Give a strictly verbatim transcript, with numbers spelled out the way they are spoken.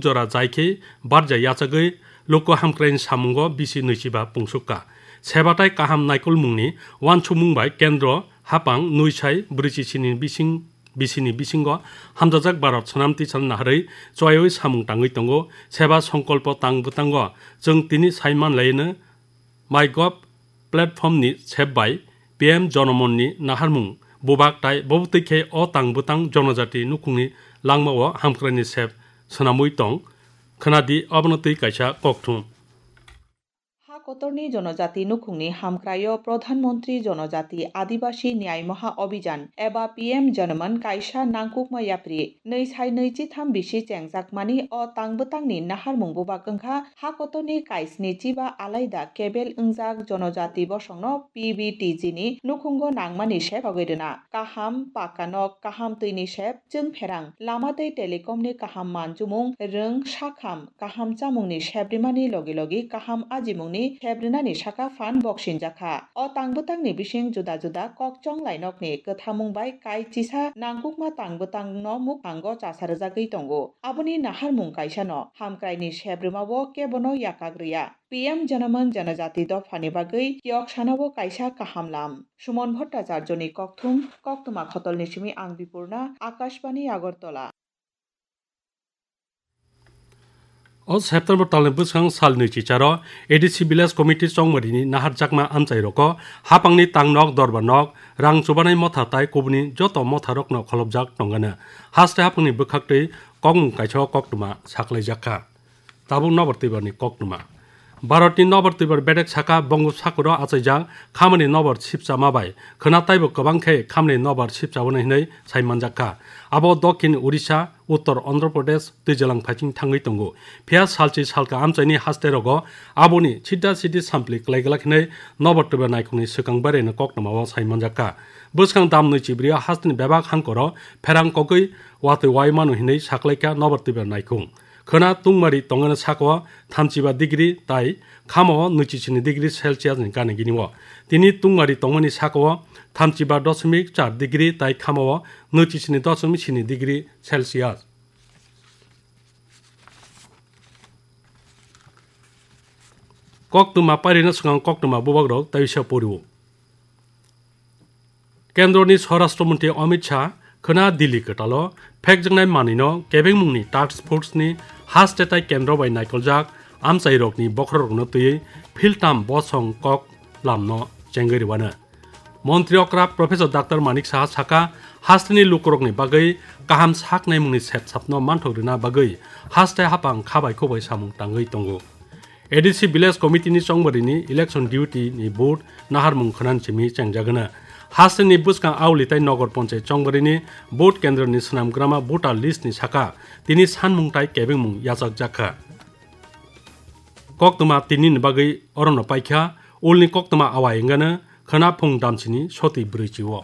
jora jai khe barja yachagwi luku hamkraini samungo bisi nwichiba pungsukka. Seba tai kaham naikolmungni uansukmung bai kendro hapang nwi sai brwichi sini bising, bisini bisingo hamjajak Bharat Swnam Tisani naharwi chuaiwi samung tangwi tongo. Seba songkolpo tang bwtango chwng tini saiman laino MyGov platform ni sep bai P M Jonomon ni naharmung bubak tai bobo twi khe o tang bwtang jonojati nukhungni langmao hamkraini sep swnamwi tong. Khwnadi obono twi kaisa kokthum. Ha kotorni jonojati nukhungni hamkraio Pradhan Mantri Jonojati Adibasi Nyay Maha Abhijan eba P M Jonomon kaisa nangkukma yapri nwi sai nwi chitham bisi chengjakmani o tang bwtangni naharmung bubak wngkha ha kotorni kaisni chiba alaida kebel wngjak jonojati bosongno P B T G ni nukhungo nangmani sep sogwi rwna. Kaham pakka nok, kaham twini sep, chwng pherang, lama tei telecom ni kaham manjumung, rwng, sakham, kaham chamungni sep rimani logi logi kaham ajimungni sep rinani saka phan boksinjakha. O tang bwtangni bising juda juda kok chonglai nokni kwthamung bai kai chisa nangkukma tang bwtangno mukhango chasa rwjagwi tongo. Aboni naharmung kaisano hamkraini sep rwmao kebono yakak rwya. P M Janaman Janajati dophani bagwi kiyok sanao kaisa kaham lam. Sumon Bhattacharjoni kokthum, koktwma khotolni simi ang Bipurna, Akashbani Agartala. O September talni bwswng salni chicharo A D C Village Committee chongmarini naharjakma amchairokno hapangni tangnok, dorbarnok, rang chubanai motha tai kubuni joto motharokno kholopjak tongano. Haste hapangni bwkhaktwi kokmung kaisa koktwma saklaijakha. Tabuk nobar twibarni koktwma. Bharatni nobar twibar bedek saka Bongosagoro achaijak khamani nobar sipchama bai khwna taibo kwbang khe khamani nobar sipchaboni hinwi sai manjakha. Abo Dokhin Odisha, Uttor Andhra Pradesh twijalang phaiching thangwi tongo. Phiya salchi salka amchaini hasterogo aboni sida sidi sampli klai glak hinwi nobar twibar naikhungni swkang baireno koktwmao sai manjakha. Bwskang dam nwi chibrio hasteni bebak hangkoro pherang kogwi watwi wai mano hinwi saklaikha nobar twibar naikhung. Khwna tungmari tongani saka-o thamchiba degree tai khama-o nwichichisni degree Celsius ni gana gini-o. Tini tungmari tongmani saka-o thamchiba doshomik char degree tai khama-o nwichichisni doshomik sini degree Celsius. Koktwma pairina swkang koktwma bubagrok tei wisa pori-o. Kendroni Swarashtra Mantri Amit Shah khwna Delhi kwtalo phekjaknai manwino kebengmungni task force ni haste tai kendro bai naikoljak amchairokni bokhorokno twiwi philtam bosong kok lamno chengwi rwano. Montri okra Professor Doctor Manik Saha saka, hasteni lukurokni bagwi kaham sak naimungni sepsapno manthok rwna bagwi haste hapang khabai khubai samung tangwi tongo. A D C Village Committee ni chongbarini election duty ni vote naharmung khwnani simi chengjagana. Hasteni bwskang auli tai Nogor Ponchai chongbarini vote kendroni swnamgrama voter list ni saka tini sanmung tai kebengmung yachakjakha. Koktwma tinini bagwi orono paikha, ulni koktwma awai wngano khwna phung damsini soti brwichi-o.